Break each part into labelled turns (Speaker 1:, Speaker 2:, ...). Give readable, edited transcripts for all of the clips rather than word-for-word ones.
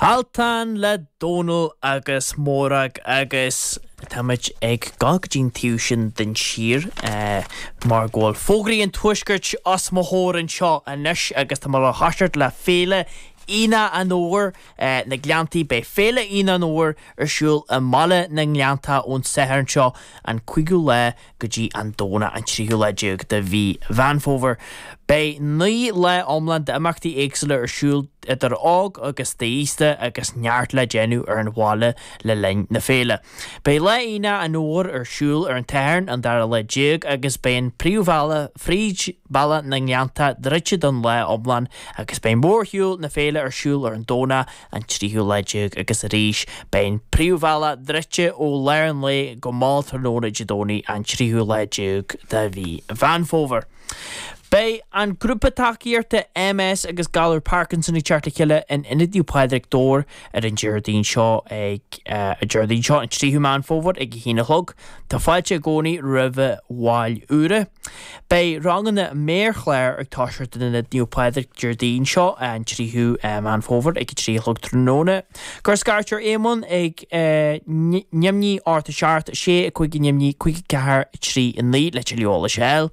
Speaker 1: Altan le Dónal agus Mórag agus táimid ag dul go dtí an taobh sin den tír mar go bhfuil fógraí an Tuaiscirt os mo chomhair anseo anois agus tá mé le thoiseacht le Féile Aonach an Fhómhair na Gleanntaí. Beidh Féile Aonach an Fhómhair ar siúl i mBaile na nGleanntach ón Satharn seo an 5ú lá go dtí an Domhnach an tríú lá déag de mhí Mheán Fómhair. Beidh 9 lá iomlán d'imeachtaí éagsúla ar siúl idir óg agus aosta agus neart le déanamh ar an bhaile le linn na féile. Beidh Lá Aonach an Fhómhair ar siúl ar an tSatharn an dara lá déag agus beidh an príomhbhealach fríd Baile na nGleanntach druidte don lá iomlán agus beidh mórshiúl na féile ar siúl ar an Domhnach an tríú lá déag agus arís beidh an príomhbhealach druidte ó lár an lae go mall tráthnóna Dé Domhnaigh an tríú lá déag de mhí Mheán Fómhair. Beidh an grúpa tacaíochta MS agus Galar Parkinson ag teacht le chéile in Ionad Naomh Pádraig, Dobhar ar an Déardaoin seo ag Déardaoin seo an tríú Meán Fómhair ag a haon a chlog. Tá fáilte i gcónaí roimh bhaill úra. Beidh ranganna méarchlár ag toiseacht in Ionad Naomh Pádraig Déardaoin seo, an 3ú Meán Fómhair ag 3 a chlog tráthnóna. Cuir scairt ar Éamonn ag 0 8 7 6 5 0 5 4 3 9 le tuilleadh eolais a fháil.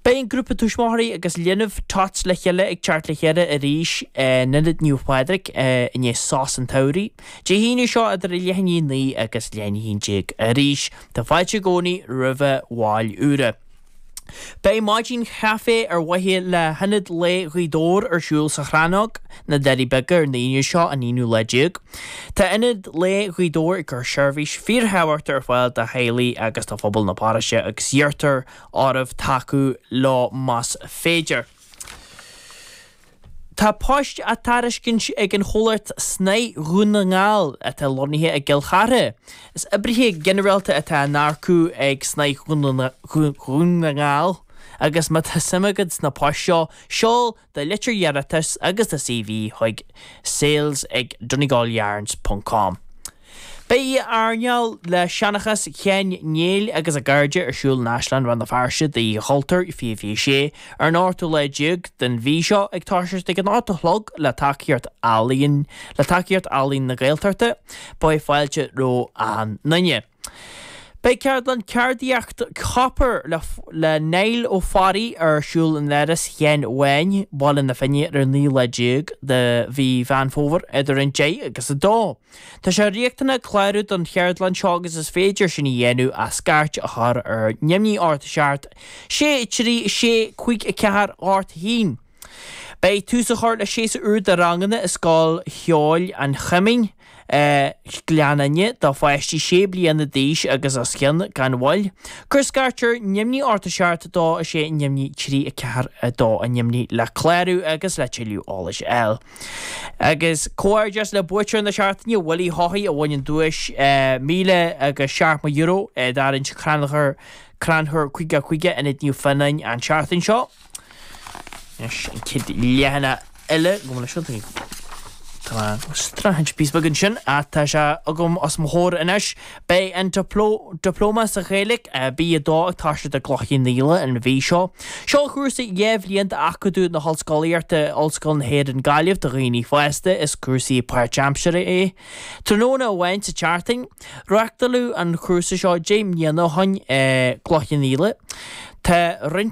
Speaker 1: Beidh an grúpa tuismitheoirí agus linbh Tots le chéile ag teacht le chéile arís in Ionad Naomh Pádraig i ndiaidh sos an tsamhraidh. Dé hAoine seo idir leath i ndiaidh 9 agus leath i ndiaidh 11 arís. Tá fáilte i gcónaí roimh bhaill úra. Beidh maidin chaife ar mhaithe le hIonad Lae Ghaoth Dobhair ar siúl sa Chrannóg, na Doirí Beaga ar an Aoine seo, an aonú lá déag. Tá Ionad Lae Ghaoth Dobhair ag cur seirbhís fíorthábhachtach ar fáil do theaghlaigh agus do phobal na paróiste agus iarrtar oraibh tacú leo más féidir. Tá poist á dtairiscint ag an chomhlacht Snáth Dhún na nGall atá lonnaithe i gCill Chartha. Is oibrithe ginearálta atá á n-earcú ag Snáth Dhún na nGall agus má tá suim agat sna poist seo, seol do litir iarratais agus do CV chuig sales ag donegalyarns ponc com. Beidh oíche airneáil le seanchas Sheáin Néill agus a gcairde ar siúl in Áislann Rann na Feirste d'Oíche Chultúir 2026 ar an ochtú lá déag den mhí seo ag toiseacht ag an 8 a chlog le tacaíocht Ealaíon le tacaíocht Ealaín na Gaeltachta. Beidh fáilte roimh achan nduine. Beidh ceardlann ceardaíocht copair le Niall Ó Fearraigh ar siúl in Áras Sheáin Bháin, Baile na Finne ar an 19 lá de mhí Mheán Fómhair idir an 10 agus 2. Tá sé riachtanach clárú don cheardlann seo agus is féidir sin a dhéanamh ach scairt a chur ar 0 8 7 6 3 6 5 4 8 1. Beidh tús á chur le séasúr úr de ranganna i Scoil Cheoil an Choimín, Gleann Fhinne, do pháistí 6 bliana d'aois agus os cionn, gan mhoill. Cuir scairt ar 0 8 7 2 6 0 3 4 2 0 le clárú agus le tuilleadh eolais a fháil. Agus comhghairdeas le buaiteoir na seachtaine, Willie Haughey, a bhain an duais €1,070 i dtarraingt Crannchur Crannchur 5 5 Ionad Naomh Fionáin an tseachtain seo. Anois an chéad leathanach eile go bhfuil seo Tá mé ag streachailt píosa beag ansin ach tá sé agam os mo chomhair anois. Beidh an Dioplóma sa Ghaeilge B2 ag toiseacht i gCloich Cheann Fhaola an mhí seo. Seo cúrsa 2 bhliain d'Acadamh na hOllscolaíochta, Ollscoil na hÉireann Gaillimh do dhaoine fásta. Is cúrsa páirtaimseartha é. Tráthnóna amháin sa tseachtain. Reáchtáladh an cúrsa seo 10 mbliana ó shin i gCloich Cheann Fhaola. Tá roinnt.